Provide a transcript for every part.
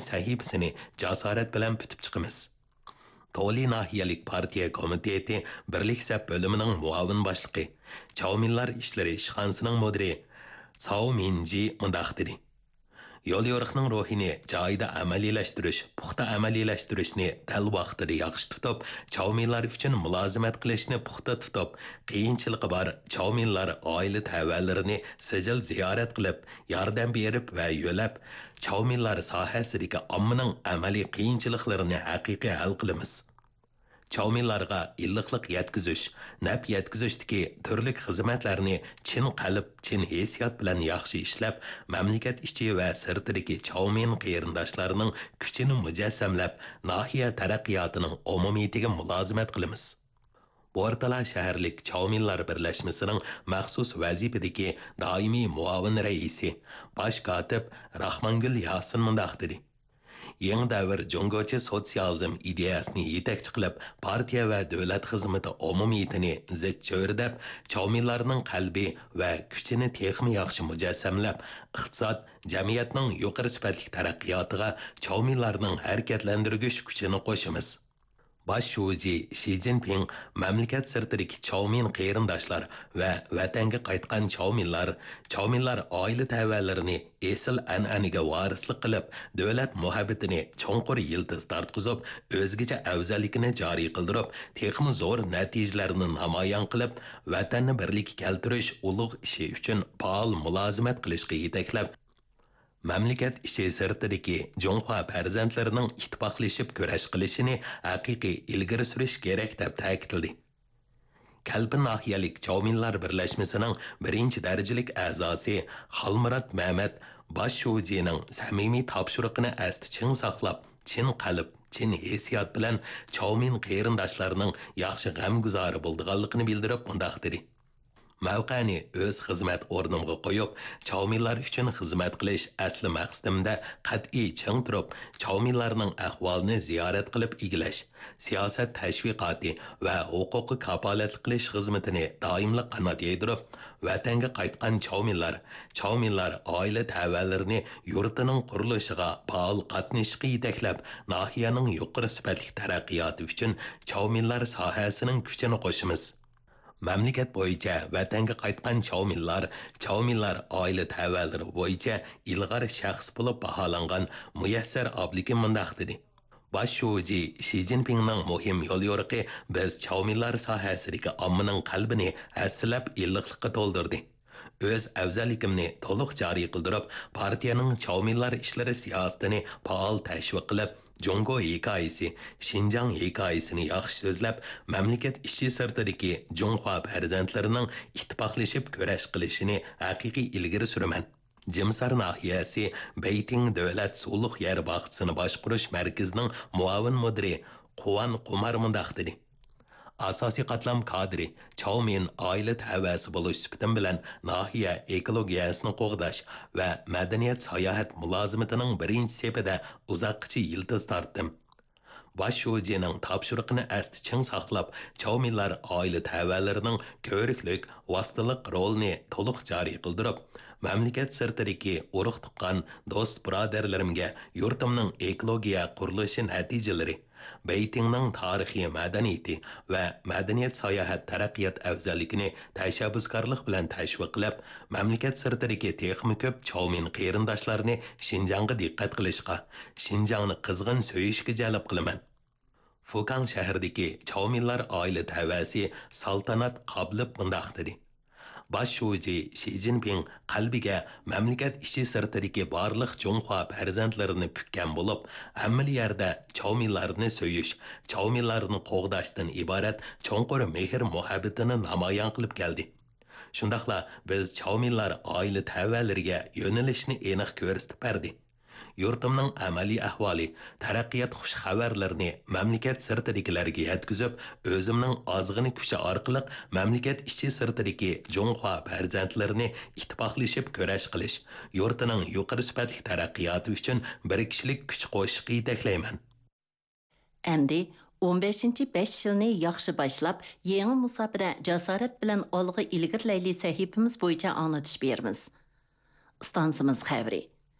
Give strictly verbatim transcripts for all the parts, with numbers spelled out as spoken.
سەھىپىسىنى جاسارەت بىلەن پۈتۈپ چىقىمىز. تولى ناھىيەلىك پارتىيە كومىتېتى بىرلىك سەپ بۆلۈمىنىڭ مۇئاۋىن باشلىقى، چاۋمىنلار ئىشلىرى ئىشخانىسىنىڭ مۇدىرى ساۋ مىنجى مۇنداق دېدى: يوليورۇقنىڭ روھىنى جايىدا ئەمەلىيلەشتۈرۈش، پۇختا ئەمەلىيلەشتۈرۈشنى دەل ۋاقتىدا ياخشى تۇتۇپ، چاۋمىنلار ئۈچۈن مۇلازىمەت قىلىشنى پۇختا تۇتۇپ، قىيىنچىلىقى بار چاۋمىنلار ئائىلە تەۋەلىرىنى سىجىل زىيارەت قىلىپ، ياردەم بېرىپ ۋە يۆلەپ، چاۋمىنلار ساھەسىدىكى ئاممىنىڭ ئەمەلىي قىيىنچىلىقلىرىنى ھەقىقىي ھەل قىلىمىز. چاۋمىنلارغا ئىللىقلىق يەتكۈزۈش، نەپ يەتكۈزۈشتىكى تۈرلۈك خىزمەتلەرنى چىن قەلب، چىن ھېسسىيات بىلەن ياخشى ئىشلەپ، مەملىكەت ئىچى ۋە سىرتىدىكى چاۋمىن قېرىنداشلارنىڭ كۈچىنى مۇجەسسەملەپ، ناھىيە تەرەققىياتىنىڭ ئومۇمىيىتىگە مۇلازىمەت قىلىمىز. بورتالا شەھەرلىك چاۋمىنلار بىرلەشمىسىنىڭ مەخسۇس ۋەزىپىدىكى دائىمىي مۇئاۋىن رەئىسى، باش كاتىپ راخمانگۈل ياسىن مۇنداق دېدى: يېڭى دەۋر جۇڭگوچە سوتسىيالىزم ئىدىيەسىنى يېتەكچى قىلىپ، پارتىيە ۋە دۆلەت خىزمىتى ئومۇمىيىتىنى زىچ چۆرىدەپ، چاۋمىنلارنىڭ قەلبى ۋە كۈچىنى تېخىمۇ ياخشى مۇجەسسەملەپ، ئىقتىساد، جەمئىيەتنىڭ يۇقىرى سۈپەتلىك تەرەققىياتىغا چاۋمىنلارنىڭ ھەرىكەتلەندۈرگۈچ كۈچىنى قوشىمىز. باش شۇجى شى جىنپىڭ مەملىكەت سىرتىدىكى چاۋمىن قېرىنداشلار ۋە ۋەتەنگە قايتقان چاۋمىنلار، چاۋمىنلار ئائىلە تەۋەلىرىنى ئېسىل ئەنئەنىگە ۋارىسلىق قىلىپ، دۆلەت مۇھەببىتىنى چوڭقۇر يىلتىز تارتقۇزۇپ، ئۆزگىچە ئەۋزەللىكىنى جارى قىلدۇرۇپ، تېخىمۇ زور نەتىجىلەرنى نامايان قىلىپ، ۋەتەننى بىرلىككە كەلتۈرۈش ئۇلۇغ ئىشى ئۈچۈن پائال مۇلازىمەت قىلىشقا يېتەكلەپ، مەملىكەت ئىچى سىرتىدىكى جۇڭخۇا پەرزەنتلىرىنىڭ ئىتتىپاقلىشىپ كۈرەش قىلىشىنى ھەقىقىي ئىلگىرى سۈرۈش كېرەك، دەپ تەكىتلىدى. كەلپىن ناھىيەلىك چاۋمىنلار بىرلەشمىسىنىڭ بىرىنچى دەرىجىلىك ئەزاسى خالمۇرات مەمەت باش شۇجىنىڭ سەمىمىي تاپشۇرۇقىنى ئەستە چىڭ ساقلاپ، چىن قەلب، چىن ھېسسىيات بىلەن چاۋمىن قېرىنداشلارنىڭ ياخشى غەمگۇزارى بولىدىغانلىقىنى بىلدۈرۈپ مۇنداق دېدى: مەۋقەنى ئۆز خىزمەت ئورنۇمغا قويۇپ، چاۋمىنلار ئۈچۈن خىزمەت قىلىش ئەسلى مەقسىتىمدە قەتئىي چىڭ تۇرۇپ، چاۋمىنلارنىڭ ئەھۋالىنى زىيارەت قىلىپ ئىگىلەش، سىياسەت تەشۋىقاتى ۋە ھوقۇققا كاپالەتلىك قىلىش خىزمىتىنى دائىملىق قانات يايدۇرۇپ، ۋەتەنگە قايتقان چاۋمىنلار، چاۋمىنلار ئائىلە تەۋەلىرىنى يۇرتىنىڭ قۇرۇلۇشىغا پائال قاتنىشىشقا يېتەكلەپ، ناھىيەنىڭ يۇقىرى سۈپەتلىك تەرەققىياتى ئۈچۈن چاۋمىنلار ساھەسىنىڭ كۈچىنى قوشىمىز. مەملىكەت بويىچە ۋەتەنگە قايتقان چاۋمىنلار، چاۋمىنلار ئائىلە تەۋەلىرى بويىچە ئىلغار شەخس بولۇپ باھالانغان مۇيەسسەر ئابلىكىم مۇنداق دېدى: باش شۇجى شى جىنپىڭنىڭ مۇھىم يوليورۇقى بىز چاۋمىنلار ساھەسىدىكى ئاممىنىڭ قەلبىنى ھەسسىلەپ ئىللىقلىققا تولدۇردى. ئۆز ئەۋزەللىكىمنى تولۇق جارى قىلدۇرۇپ، پارتىيەنىڭ چاۋمىنلار ئىشلىرى سىياسىتىنى پائال تەشۋىق قىلىپ، جۇڭگو ھېكايىسى، شىنجاڭ ھېكايىسىنى ياخشى سۆزلەپ، مەملىكەت ئىچى سىرتىدىكى جۇڭخۇا پەرزەنتلىرىنىڭ ئىتتىپاقلىشىپ كۈرەش قىلىشىنى ھەقىقىي ئىلگىرى سۈرىمەن. جىمسار ناھىيەسى بېيتىڭ دۆلەت سۇلۇق يەر باغچىسىنى باشقۇرۇش مەركىزىنىڭ مۇئاۋىن مۇدىرى قۇۋان قۇمار مۇنداق دېدى: ئاساسىي قاتلام كادىرى، چاۋمىن ئائىلە تەۋەسى بولۇش سۈپىتىم بىلەن ناھىيە ئېكولوگىيەسىنى قوغداش ۋە مەدەنىيەت ساياھەت مۇلازىمىتىنىڭ بىرىنچى سېپىدە ئۇزاققىچە يىلتىز تارتتىم. باش شۇجىنىڭ تاپشۇرۇقىنى ئەستە چىڭ ساقلاپ، چاۋمىنلار ئائىلە تەۋەلىرىنىڭ كۆۋرۈكلۈك، ۋاسىتىلىق رولىنى تولۇق جارى قىلدۇرۇپ، مەملىكەت سىرتىدىكى ئۇرۇق-تۇغقان، دوست-بۇرادەرلىرىمگە يۇرتۇمنىڭ ئېكولوگىيە قۇرۇلۇشى نەتىجىلىرى، بېيتىڭنىڭ تارىخىي مەدەنىيىتى ۋە مەدەنىيەت ساياھەت تەرەققىيات ئەۋزەللىكىنى تەشەببۇسكارلىق بىلەن تەشۋىق قىلىپ، مەملىكەت سىرتىدىكى تېخىمۇ كۆپ چاۋمىن قېرىنداشلارنى شىنجاڭغا دىققەت قىلىشقا، شىنجاڭنى قىزغىن سۆيۈشكە جەلپ قىلىمەن. فۇكاڭ شەھىرىدىكى چاۋمىنلار ئائىلە تەۋەسى سالتانات قابلىپ مۇنداق دېدى: باش شۇجى شى جىنپىڭ قەلبىگە مەملىكەت ئىچى سىرتىدىكى بارلىق جۇڭخۇا پەرزەنتلىرىنى پۈككەن بولۇپ، ھەممىلا يەردە چاۋمىنلارنى سۆيۈش، چاۋمىنلارنى قوغداشتىن ئىبارەت چوڭقۇر مېھىر-مۇھەببىتىنى نامايان قىلىپ كەلدى. شۇنداقلا بىز چاۋمىنلار ئائىلە تەۋەلىرىگە يۆنىلىشنى ئېنىق كۆرسىتىپ بەردى. يۇرتۇمنىڭ ئەمەلىي ئەھۋالى، تەرەققىيات خۇش خەۋەرلىرىنى مەملىكەت سىرتىدىكىلەرگە يەتكۈزۈپ، ئۆزۈمنىڭ ئازغىنە كۈچى ئارقىلىق مەملىكەت ئىچى سىرتىدىكى جۇڭخۇا پەرزەنتلىرىنى ئىتتىپاقلىشىپ كۈرەش قىلىش، يۇرتىنىڭ يۇقىرى سۈپەتلىك تەرەققىياتى ئۈچۈن بىر كىشىلىك كۈچ قوشۇشقا يېتەكلەيمەن. ئەمدى ئون بەشىنچى بەش يىلنى ياخشى باشلاپ، يېڭى مۇساپىدە جاسارەت بىلەن ئالغا ئىلگىرىلەيلى سەھىپىمىز بويىچە ئاڭلىتىش بېرىمىز. ئىستانسىمىز خەۋىرى.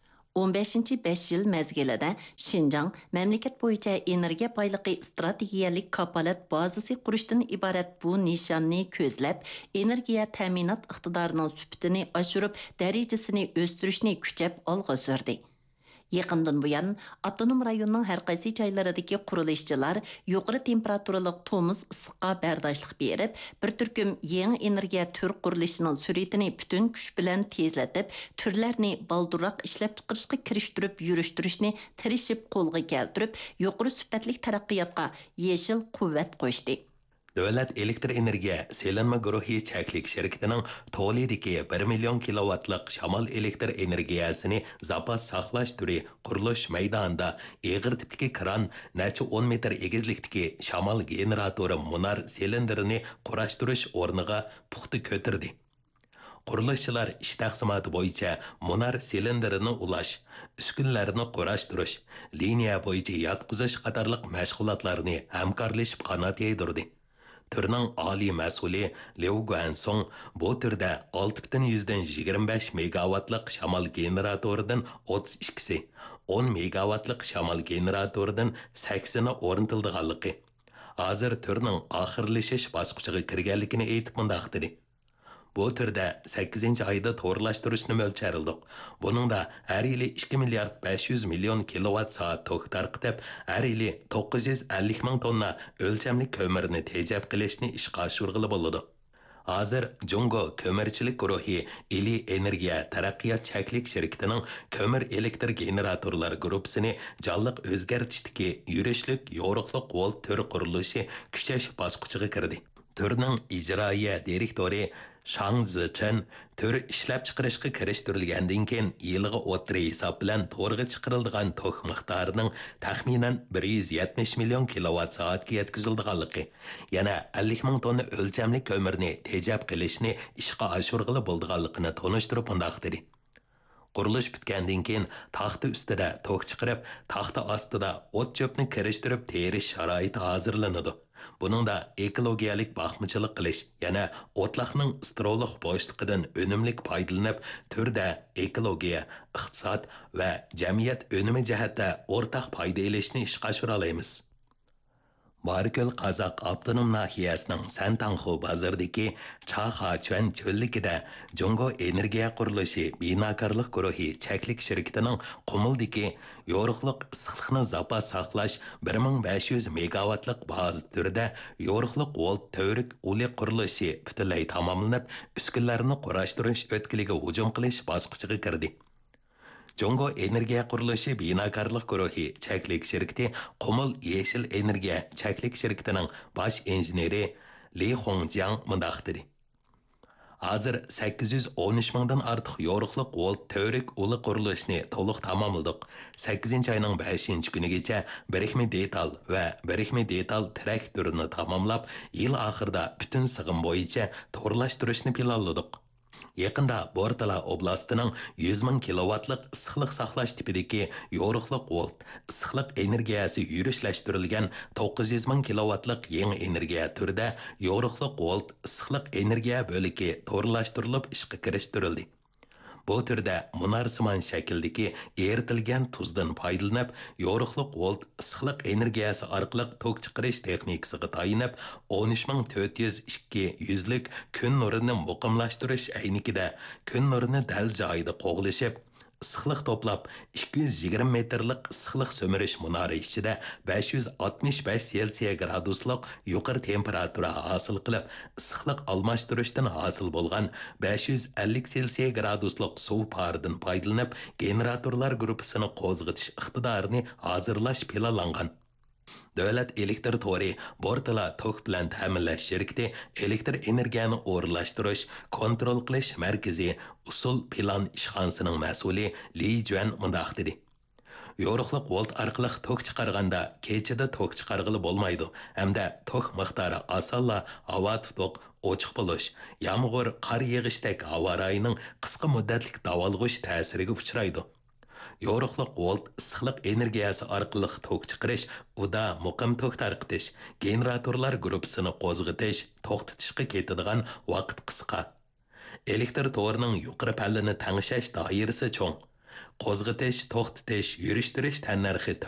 ئون بەشىنچى بەش يىل مەزگىلىدە شىنجاڭ مەملىكەت بويىچە ئېنېرگىيە بايلىقى ئىستراتېگىيەلىك كاپالەت بازىسى قۇرۇشتىن ئىبارەت بۇ نىشاننى كۆزلەپ، ئېنېرگىيە تەمىنات ئىقتىدارىنىڭ سۈپىتىنى ئاشۇرۇپ، دەرىجىسىنى ئۆستۈرۈشنى كۈچەپ ئالغا سۈردى. يېقىندىن بۇيان، ئاپتونوم رايوننىڭ ھەر قايسى جايلىرىدىكى قۇرۇلۇشچىلار يۇقىرى تېمپېراتۇرىلىق تومۇز ئىسسىققا بەرداشلىق بېرىپ، بىر تۈركۈم يېڭى ئېنېرگىيە تۈر قۇرۇلۇشىنىڭ سۈرئىتىنى پۈتۈن كۈچ بىلەن تېزلىتىپ، تۈرلەرنى بالدۇرراق ئىشلەپچىقىرىشقا كىرىشتۈرۈپ يۈرۈشتۈرۈشنى تىرىشىپ قولغا كەلتۈرۈپ، يۇقىرى سۈپەتلىك تەرەققىياتقا يېشىل قۇۋۋەت قوشتى. دۆلەت ئېلېكتر ئېنېرگىيە سېلىنما گۇرۇھى چەكلىك شىركىتىنىڭ تولىدىكى بىر مىليون كىلوۋاتلىق شامال ئېلېكتر ئېنېرگىيەسىنى زاپاس ساقلاش تۈرى قۇرۇلۇش مەيدانىدا ئېغىر تىپتىكى كران نەچچە ئون مېتىر ئېگىزلىكتىكى شامال گېنېراتورى مۇنار سىلىندىرىنى قۇراشتۇرۇش ئورنىغا پۇختا كۆتۈردى. قۇرۇلۇشچىلار ئىش تەقسىماتى بويىچە مۇنار سىلىندىرىنى ئۇلاش، ئۈسكۈنىلەرنى قۇراشتۇرۇش، لىنىيە بويىچە ياتقۇزۇش قاتارلىق مەشغۇلاتلارنى ھەمكارلىشىپ قانات يايدۇردى. تۈرنىڭ ئالىي مەسئۇلى ليۇ گۇەنسۇڭ بۇ تۈردە ئالتە پۈتۈن يۈزدىن يىگىرمە بەش مېگاۋاتلىق شامال گېنېراتورىدىن ئوتتۇز ئىككىسى، ئون مېگاۋاتلىق شامال گېنېراتورىدىن سەكسىنى ئورنىتىلىدىغانلىقى، ھازىر تۈرنىڭ ئاخىرلىشىش باسقۇچىغا كىرگەنلىكىنى ئېيتىپ مۇنداق دېدى. بۇ تۈردە سەككىزىنچى ئايدا تورلاشتۇرۇشنى مۆلچەرلىدۇق. بۇنىڭدا ھەر يىلى ئىككى مىليارد بەش يۈز مىليون كىلوۋات سائەت توك تارقىتىپ، ھەر يىلى توققۇز يۈز ئەللىك مىڭ توننا ئۆلچەملىك كۆمۈرنى تېجەپ قېلىشنى ئىشقا ئاشۇرغىلى بولىدۇ. ھازىر جۇڭگو كۆمۈرچىلىك گۇرۇھى ئىلى ئېنېرگىيە تەرەققىيات چەكلىك شىركىتىنىڭ كۆمۈر ئېلېكتر گېنېراتورلار گۇرۇپپىسىنى جانلىق ئۆزگەرتىشتىكى يۈرۈشلۈك يورۇقلۇق ۋولت تۈر قۇرۇلۇشى كۈچەش باسقۇچىغا كىردى. تۈرنىڭ ئىجرائىيە دىرېكتورى شاڭ زىچېن تۈر ئىشلەپچىقىرىشقا كىرىشتۈرۈلگەندىن كېيىن، يىلىغا ئوتتۇرا ھېساب بىلەن تورغا چىقىرىلىدىغان توك مىقدارىنىڭ تەخمىنەن بىر يۈز يەتمىش مىليون كىلوۋات سائەتكە يەتكۈزۈلىدىغانلىقى، يەنە ئەللىك مىڭ توننا ئۆلچەملىك كۆمۈرنى تېجەپ قېلىشنى ئىشقا ئاشۇرغىلى بولىدىغانلىقىنى تونۇشتۇرۇپ مۇنداق دېدى. قۇرۇلۇش پۈتكەندىن كېيىن، تاختا ئۈستىدە توك چىقىرىپ، تاختا ئاستىدا ئوت-چۆپنى كىرىشتۈرۈپ تېرىش شارائىتى ھازىرلىنىدۇ. بۇنىڭدا ئېكولوگىيەلىك باقمىچىلىق قىلىش، يەنە ئوتلاقنىڭ ئىسترولۇق بوشلۇقىدىن ئۈنۈملۈك پايدىلىنىپ، تۈردە ئېكولوگىيە، ئىقتىساد ۋە جەمئىيەت ئۈنۈمى جەھەتتە ئورتاق پايدا ئېلىشنى ئىشقا ئاشۇرالايمىز. بارىكۆل قازاق ئاپتونوم ناھىيەسىنىڭ سەنتاڭخۇ بازىرىدىكى چاخاچۈەن چۆللۈكىدە جۇڭگو ئېنېرگىيە قۇرۇلۇشى بىناكارلىق گۇرۇھى چەكلىك شىركىتىنىڭ قۇمۇلدىكى يورۇقلۇق ئىسسىقلىقنى زاپاس ساقلاش بىر مىڭ بەش يۈز مېگاۋاتلىق بازا تۈرىدە يورۇقلۇق ۋولت تۈۋرۈك ئۇلى قۇرۇلۇشى پۈتۈنلەي تاماملىنىپ، ئۈسكۈنىلەرنى قۇراشتۇرۇش ئۆتكىلىگە ھۇجۇم قىلىش باسقۇچىغا كىردى. جۇڭگو ئېنېرگىيە قۇرۇلۇشى بىناكارلىق گۇرۇھى چەكلىك شىركىتى قۇمۇل يېشىل ئېنېرگىيە چەكلىك شىركىتىنىڭ باش ئىنژېنېرى لى خۇڭجياڭ مۇنداق دېدى: ھازىر سەككىز يۈز ئون ئۈچ مىڭدىن ئارتۇق يورۇقلۇق ۋولت تۈۋرۈك ئۇلى قۇرۇلۇشىنى تولۇق تاماملىدۇق. سەككىزىنچى ئاينىڭ بەشىنچى كۈنىگىچە بىرىكمە دېتال ۋە بىرىكمە دېتال تىرەك تۈرىنى تاماملاپ، يىل ئاخىرىدا پۈتۈن سىغىم بويىچە تورلاشتۇرۇشنى پىلانلىدۇق. يېقىندا بورتالا ئوبلاستىنىڭ يۈز مىڭ كىلوۋاتلىق ئىسسىقلىق ساقلاش تىپىدىكى يورۇقلۇق ۋولت ئىسسىقلىق ئېنېرگىيەسى يۈرۈشلەشتۈرۈلگەن توققۇز يۈز مىڭ كىلوۋاتلىق يېڭى ئېنېرگىيە تۈرىدە يورۇقلۇق ۋولت ئىسسىقلىق ئېنېرگىيە بۆلىكى تورلاشتۇرۇلۇپ ئىشقا كىرىشتۈرۈلدى. بۇ تۈردە مۇنارسىمان شەكىلدىكى ئېرىتىلگەن تۇزدىن پايدىلىنىپ، يورۇقلۇق ۋولت ئىسسىقلىق ئېنېرگىيەسى ئارقىلىق توك چىقىرىش تېخنىكىسىغا تايىنىپ، ئون ئۈچ مىڭ تۆت يۈز ئىككى يۈزلۈك كۈن نۇرىنى مۇقىملاشتۇرۇش ئەينىكىدە كۈن نۇرىنى دەل جايىدا قوغلىشىپ، ئىسسىقلىق توپلاپ، ئىككى يۈز يىگىرمە مېتىرلىق ئىسسىقلىق سۈمۈرۈش مۇنارى ئىچىدە بەش يۈز ئاتمىش بەش سېلسىيە گرادۇسلۇق يۇقىرى تېمپېراتۇرا ھاسىل قىلىپ، ئىسسىقلىق ئالماشتۇرۇشتىن ھاسىل بولغان بەش يۈز ئەللىك سېلسىيە گرادۇسلۇق سۇ پارىدىن پايدىلىنىپ، گېنېراتورلار گۇرۇپپىسىنى قوزغىتىش ئىقتىدارىنى ھازىرلاش پىلانلانغان. دۆلەت ئېلېكتىر تورى بورتالا توك بىلەن تەمىنلەش شىركىتى ئېلېكتىر ئېنېرگىيەنى ئورۇنلاشتۇرۇش، كونترول قىلىش مەركىزى ئۇسۇل پىلان ئىشخانىسىنىڭ مەسئۇلى لى جۈەن مۇنداق دېدى: يورۇقلۇق ۋولت ئارقىلىق توك چىقارغاندا، كېچىدە توك چىقارغىلى بولمايدۇ ھەمدە توك مىقدارى ئاسانلا ھاۋا تۇتۇق، ئوچۇق بولۇش، يامغۇر، قار يېغىشتەك ھاۋا رايىنىڭ قىسقا مۇددەتلىك داۋالغۇش تەسىرىگە ئۇچرايدۇ. يورۇقلۇق ۋولت ئىسسىقلىق ئېنېرگىيەسى ئارقىلىق توك چىقىرىش، ئۇدا مۇقىم توك تارقىتىش، گېنېراتورلار گۇرۇپپىسىنى قوزغىتىش، توختىتىشقا كېتىدىغان ۋاقىت قىسقا. ئېلېكتر تورىنىڭ يۇقىرى پەللىنى تەڭشەش دائىرىسى چوڭ. قوزغىتىش، توختىتىش، يۈرۈشتۈرۈش تەننەرخى تۆۋەن.